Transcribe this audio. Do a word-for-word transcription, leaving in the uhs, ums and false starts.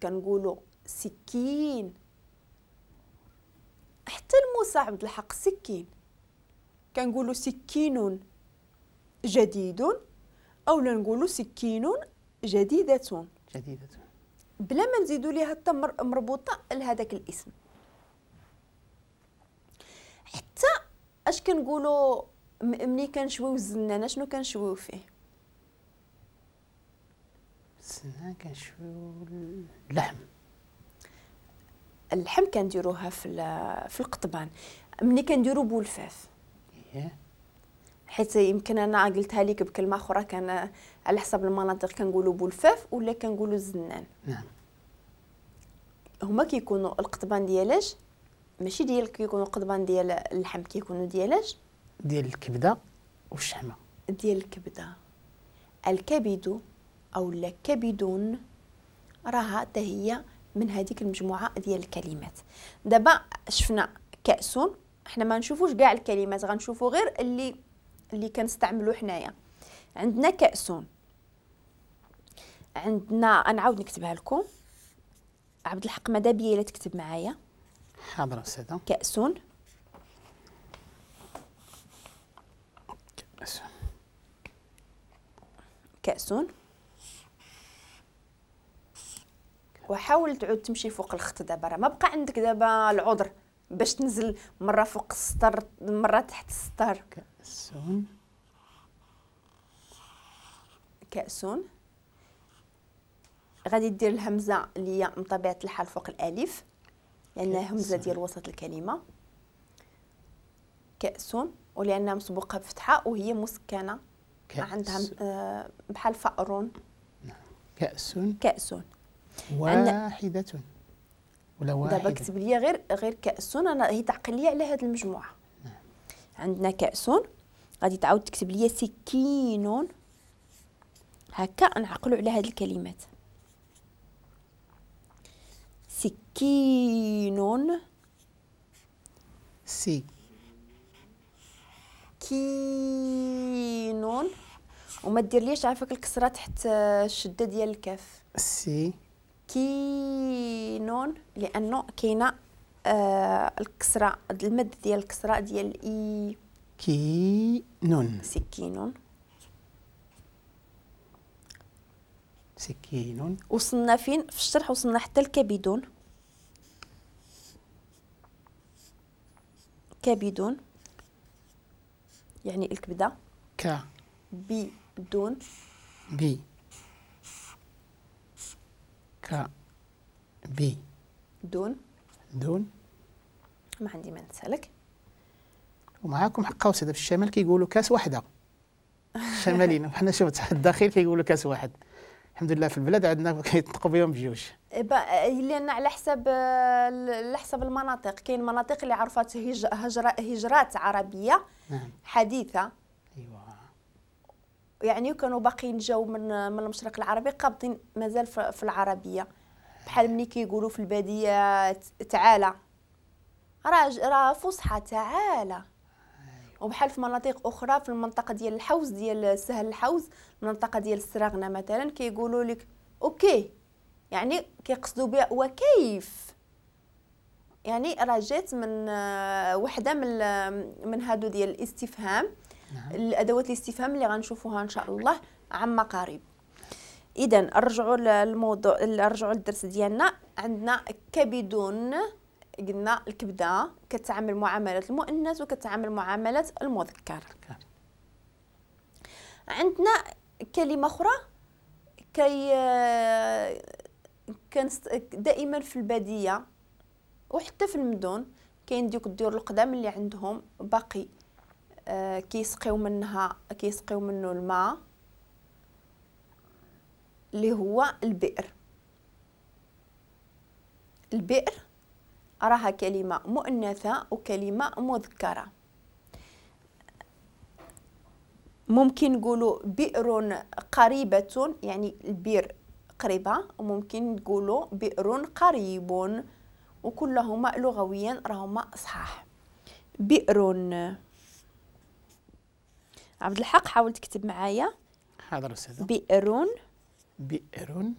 كنقولوا سكين. حتى الموسى عبد الحق سكين، كنقولوا سكين جديد او لا نقولوا سكين جديدة. جديدة بلا ما نزيدوا ليها حتى مربوطة لهذاك الاسم. حتى اش كنقولوا ملي كنشويو الزنانه، شنو كنشويو فيه؟ الزنانه كنشويو اللحم. اللحم كنديروها في في القطبان ملي كنديرو بولفاف. إيه. حيت يمكن انا قلتها لك بكلمه اخرى، كان على حسب المناطق كنقولوا بولفاف ولا كنقولوا الزنان. نعم. هما كيكونوا القطبان ديالاش؟ ماشي ديال كيكونوا قطبان ديال اللحم، كيكونوا ديالاش؟ ديال الكبده والشحمه. ديال الكبده. الكبد او لا كبدون راها حتى هي من هذيك المجموعة ديال الكلمات. دابا شفنا كأس، حنا ما نشوفوش كاع الكلمات، غنشوفوا غير اللي اللي كنستعملو حنايا. عندنا كأس، عندنا، نعاود نكتبها لكم عبد الحق ماذا بيا الا تكتب معايا. حاضر استاذه. كأس، كأس، كأس. وحاول تعود تمشي فوق الخط دابا، راه ما بقى عندك دابا العذر باش تنزل مرة فوق السطر مرة تحت السطر. كأس، كأس. غادي دير الهمزة اللي هي من طبيعة الحال فوق الالف لانها همزه ديال وسط الكلمة. كأس، ولانها مسبوقة بفتحه وهي مسكنه عندها بحال فأر. نعم. كأس، كأس واحدة ولا واحدة. دابا كتب لي غير غير كأس، انا هي تعقل لي على هذه المجموعة. نعم. عندنا كأس، غادي تعاود تكتب لي سكين. هكا نعقلوا على هذه الكلمات. سكين، سي، كين، وما دير ليش عافاك الكسرة تحت الشدة ديال الكاف. سي، كينون، لانه كاينه آه الكسرة، المد ديال الكسرة ديال اي. كينون، سكينون، سكين. وصلنا فين في الشرح؟ وصلنا حتى الكبدون. كبدون يعني الكبده. ك بدون، بي، ك بي، دون، دون. ما عندي ما نسالك. ومعاكم حق قوس، هذا في الشمال كيقولوا كاس واحدة. الشماليين وحنا شفت الداخل كيقولوا كاس واحد. الحمد لله في البلاد عندنا كيطلقوا بهم بجوج. لان على حسب على حسب المناطق، كاين مناطق اللي عرفت هجرة هجرات عربية. نعم. حديثه. ايوا. يعني كانوا باقيين جاو من من المشرق العربي قابضين مازال في العربية. بحال ملي كيقولوا في البادية تعالى، راه راه فصحى تعالى. وبحال في مناطق اخرى في المنطقة ديال الحوز ديال سهل الحوز، المنطقة ديال السراغنه مثلا، كيقولوا لك okay، يعني كيقصدوا بها وكيف. يعني راه جات من وحده من من هادو ديال الاستفهام. نعم. الادوات الاستفهام اللي غنشوفوها ان شاء الله عما قريب. اذا نرجعوا للموضوع، نرجعوا للدرس ديالنا. عندنا كبدون، قلنا الكبده كتعامل معاملة المؤنث وكتعامل معاملة المذكر. عندنا كلمة اخرى كي كان دائما في البادية وحتى في المدن كاين ديك الديور القدام اللي عندهم باقي آه كيسقيو منها، كيسقيو منه الماء اللي هو البئر. البئر راها كلمة مؤنثة وكلمة مذكرة. ممكن نقولوا بئر قريبة، يعني البئر قريبة، وممكن نقولوا بئر قريب، وكلهما لغويا راهما صحاح. بئر. عبد الحق حاول تكتب معايا. حاضر أستاذة. بئر، بئر،